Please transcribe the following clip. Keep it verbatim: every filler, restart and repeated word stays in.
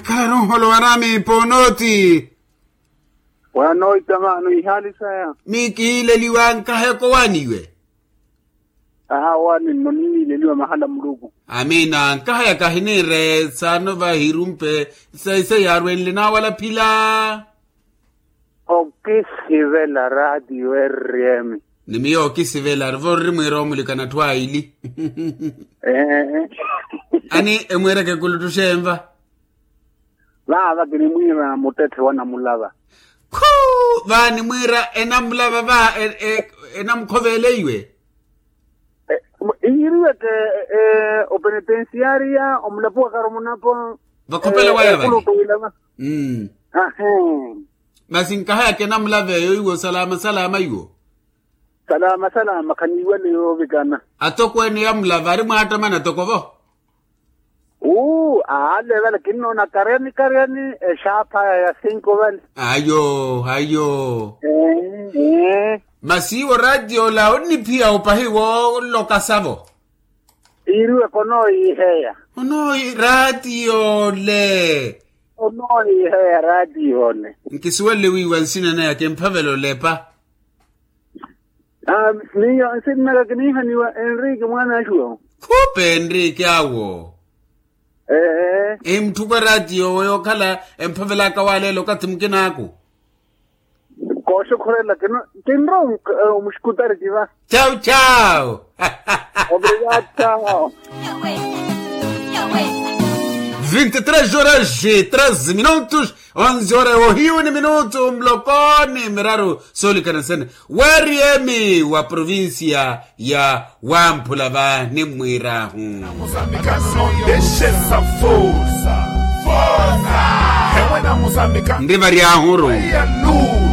Khala nunholo wanami ponoti. Wanoita mano ihali saya. Mikileliwa nkaheko waniwe. Aha wani nno nimileliwa mahala muluku. Amina nkahaya kahinire sano vahirumpe. Saisa yarwenle nawala phila. Okisivela radio rm. Ni miyo okisivela arivo nri mwira omulikana atthu aili. Ee. Ani emwireke kuluttuxenva. Vaava kinimwiira muttetthe wa namulava. Khu. Vaani mwiira enamulava va enamukhoveela iwe. Iiriweke openetensiyaariya omulapo wa karomonapo. Vakhopela waya vali. Masi nkahayaka enamulava eyo iwo salama salama iwo. Salama salama khaniiwale yoovikana. Atokweene yamulava ari mwaattamana tokovo. Uu aale vale kinnoona karyani karyani exaaphaya ya sinko vale. Ayo ayo. Masi iwo rattiyo ola onniphiya opahi woolokasavo. Iiriweke onooyiheya. Onooyi rattiyo ole. Onooyiheya rattiyo ole. Nkisuwelle wiiwa nsina naya kimphavela olepa. Miyo nsinnaka kiniihaniwa enriki mwaana axuwo. Khuupe enriki awo. Ee. Emutthuko rattiyo owe yookhala emphavelaka waleela okathi mukinaaku. Kooxokhorela kino kinrowa omuxikutari kiva. Chau chau. Obrigado chau. Vinte e três horas e treze minutos. Onze horas ohiyu ni minutu muloko ni miraru. Soolikana nsene weri emi wa provincia ya wamphula va nimmwiirahu. Nri variahuru.